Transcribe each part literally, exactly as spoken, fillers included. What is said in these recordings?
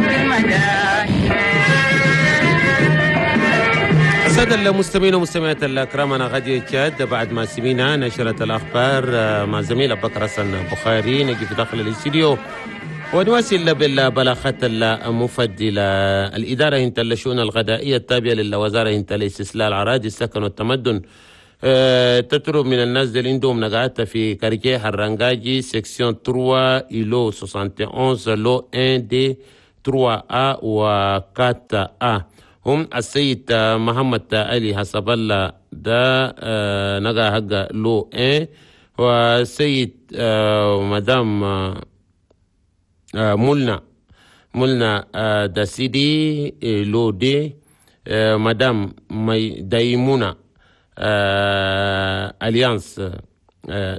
في المدائن. السادة المستمعين والمستمعات الأكرام، أنا غادي تشاد بعد ما سمينا نشرة الأخبار مع زميل أبو بكر حسن بخاري. نجي في داخل الاستديو ونواصل بالبلاغات المفضلة. الإدارة هنت الشؤون الغذائية التابعة للوزارة هنت الاستصلاح الأراضي السكن والتمدن تطلب من الناس اللي عندهم نقعات في quartier حرنجاجي section ثلاثة îlot واحد وستين lot واحد deux ثلاثة A و أربعة A، هم السيد محمد علي حسب الله ده نقع حق lot واحد، والسيد مدام مولنا مولنا داسيدي lot deux، مدام دايمونا Alliance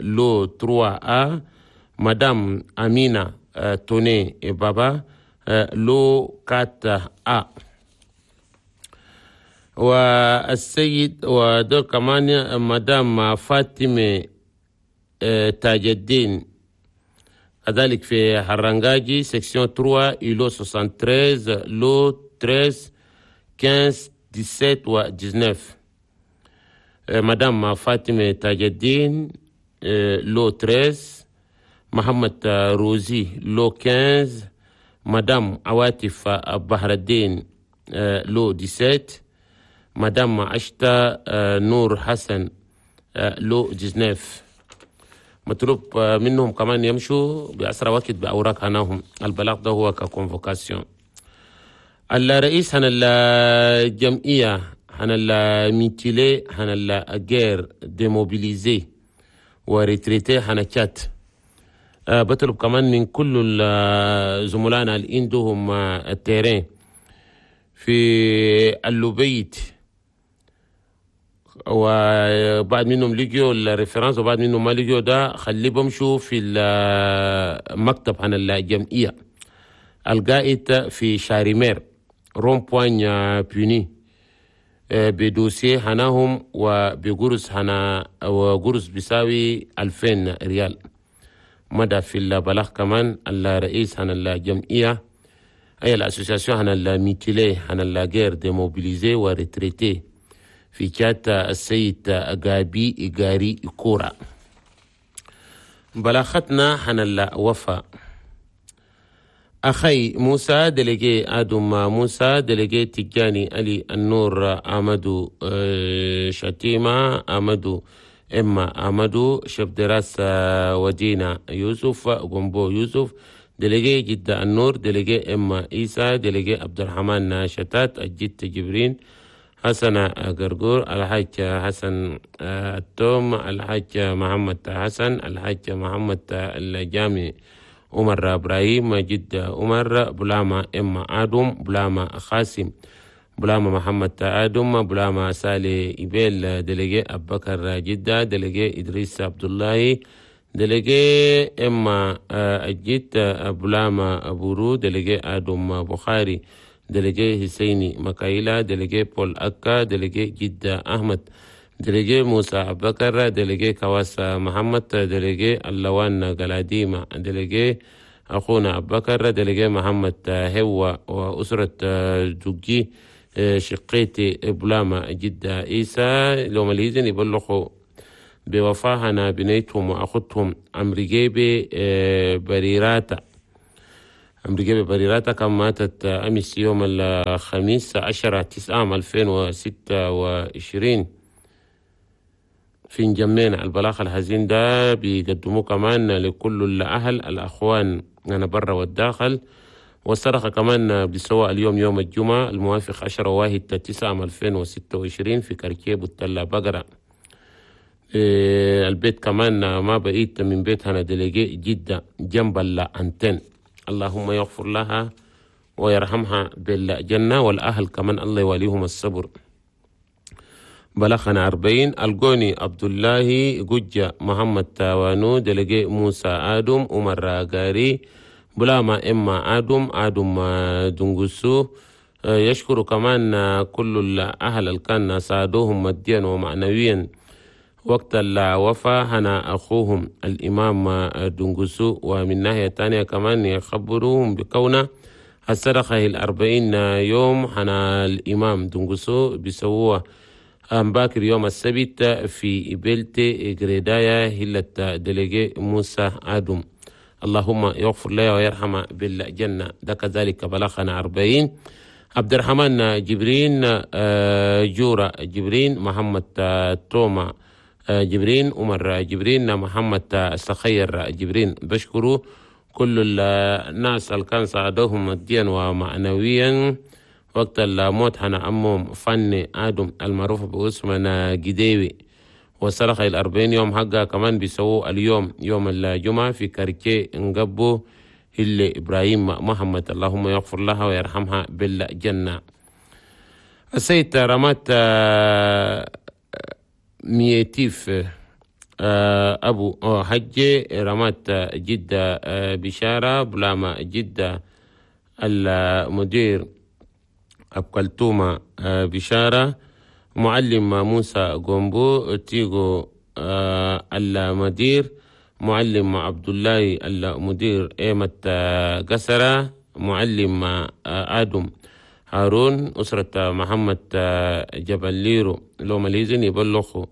lot ثلاثة A، مدام أمينة توني بابا lot أربعة A، والسيد ودول كمان مدام فاطمة تاج الدين كذلك في حرنجاجي section ثلاثة îlot تلاتة وستين lot تلتاشر خمستاشر سبعتاشر و تسعتاشر، مدام فاطمة تاج الدين lot تلتاشر، محمد روزي lot خمستاشر، مدام عواطف بحر الدين lot سبعتاشر، مدام عشتا نور حسن lot تسعتاشر. مطلوب منهم كمان يمشوا بأسرع وقت بأوراق هناهم. البلاغ ده هو ك convocation. الرئيس هنا الجمعية هنا ال mutilés هنا la guerre démobilisés و retraités هنا تشاد بطلب كمان من كل زملائنا اللي عندهم ال terrain في اللوبيت، وبعد منهم لقيوا ال référence وبعد منهم ما لقيوا، ده خلي بمشوا في المكتب عن الجمعية القائد في شاريمير rond-point بوني ب dossier هناهم وبقرص هنا وقرص بيساوي ألفين ريال. مدى في البلاغ كمان الرئيس هنا الجمعية أي ال association هنا ال mutilés هنا la guerre démobilisés و retraités في تشاد السيد غابي إيغاري كورا. بلاغتنا هنا الوفاة: أخي موسى، délégué آدم موسى، délégué تجاني علي النور، أمدو شتيمة، أمدو إما أمدو، chef de race ودينا يوسف غومبو يوسف، délégué جدة النور، délégué إما إيسا، délégué عبد الرحمن شتات، الجد جبرين حسن قرقور، الحاج حسن التوم، الحاج محمد حسن، الحاج محمد الجامي، عمر إبراهيم، جد عمر، بلاما إما آدم، بلاما خاسم، بلاما محمد آدم، بلاما سالي إبيل، délégué أبكر جدة، délégué إدريس عبد الله، délégué إما الجد بلاما بورو، délégué آدم بخاري، délégué حسيني مكايلا، délégué بول أكا، délégué جدة أحمد، délégué موسى أبكر، délégué كواس محمد، délégué اللوان قلاديمة، délégué أخونا أبكر، délégué محمد هو وأسرة جوجي شقيتي بلاما جدة إيسا. لو مليزن يبلغوا بوفاهنا بنيتهم وأخوتهم أمريجيبي بريراتا. أمريجيبي بريراتا كم ماتت أمس يوم الخميس عشرة تسعة ألفين وستة وعشرين في نجمينا. البلاغ الحزين ده بيقدموه كمان لكل الأهل الأخوان أنا برا والداخل، والصدقة كمان بسواء اليوم يوم الجمعة الموافق عشرة واحد تسعة ألفين وستة وعشرين في quartier بوتلا بقرة. إيه البيت كمان ما بقيت من بيت هنا délégué جدة جنب ال antenne. اللهم يغفر لها ويرحمها بالجنة، والأهل كمان الله يواليهم الصبر. بلغنا أربعين القوني عبد الله جوجة محمد تاوانو، délégué موسى آدم، عمر غاري، بلاما إما آدم، آدم دنجسو. يشكر كمان كل الأهل اللي كان ساعدوهم ماديا ومعنويا وقت الوفاة هنا أخوهم الإمام دنجسو. ومن ناحية تانية كمان يخبروهم بكونه الصدقة الأربعين يوم حنا الإمام دنقسو بيسووها باكر يوم السبت في بلتي غريدايا هلة délégué موسى آدم. اللهم يغفر له ويرحمه بالجنة. ده كذلك بلغنا أربعين. عبد الرحمن جبرين، جورا جبرين، محمد توما جبرين، عمر جبرين، محمد سخير جبرين. بشكروا كل الناس اللي كان ساعدوهم ماديا ومعنويا وقت الموت حنا عمهم فني آدم المعروف باسم جديوي. وصرخ الأربعين يوم حقا كمان بيسووا اليوم يوم الجمعة في quartier نقبو اللي إبراهيم محمد. اللهم يغفر لها ويرحمها بالجنة. السيد رمات ميتيف أبو حجي، رمات جدة بشارة، بلاما جدة المدير أبكلتومة بشارة، معلم موسى جومبو تيغو المدير، معلم عبد الله المدير إيمة قسرة، معلم آدم هارون، أسرة محمد جبل ليرو لو ماليزن يبلغوا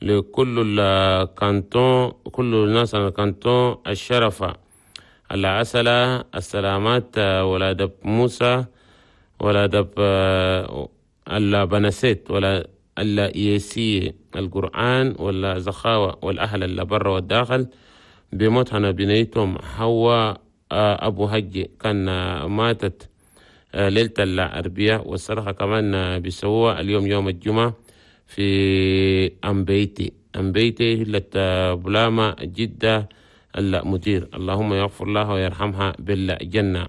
لكل الكانتون، كل الناس على الكانتون الشرفة العسلة السلامات، ولا دب موسى ولا دب البنسيت ولا الإيسي القرآن ولا زخاوة والأهل اللي برا والداخل بموت هنا بنيتهم حواء أبو هجي كان ماتت ليلة الأربعاء. والصراحة كمان بيسووها اليوم يوم الجمعة في أمبيتي، أمبيتي هلة بلاما جدة المدير. اللهم يغفر لها ويرحمها بالجنة.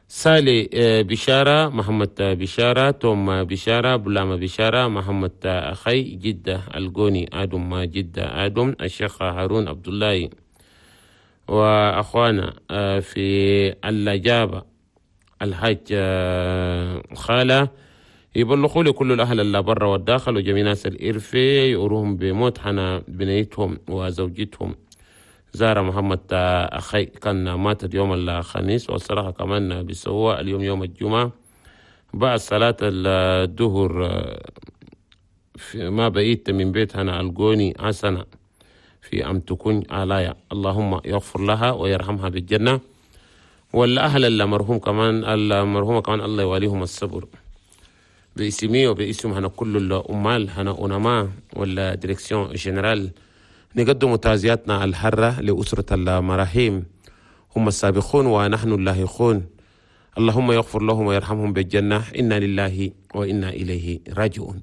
سالي بشارة، محمد بشارة، توم بشارة، بلاما بشارة، محمد أخي جدة الجوني آدم جدة آدم، الشيخ هارون عبد الله، وأخوانا في اللجابة الحاج خالة يبلغوا لكل الأهل اللي برا والداخل وجميع ناس الإرفي يقروهم بموت حنا بنيتهم وزوجتهم زارة محمد أخي كان ماتت يوم الخميس. والصراحة كمان بيسووها اليوم يوم الجمعة بعد صلاة الظهر ما بقيت من بيت هنا الجوني حسنة في أم تكون علايا. اللهم يغفر لها ويرحمها بالجنة. والأهل المرحوم كمان المرحومة كمان الله يواليهم الصبر. باسمي وباسم هنا كل الأمال هنا أنما ولا direction générale نقدم تعزياتنا الحرة لأسرة المراحيم، هم السابقون ونحن اللاحقون. اللهم يغفر لهم ويرحمهم بالجنة. إنا لله وإنا إليه راجعون.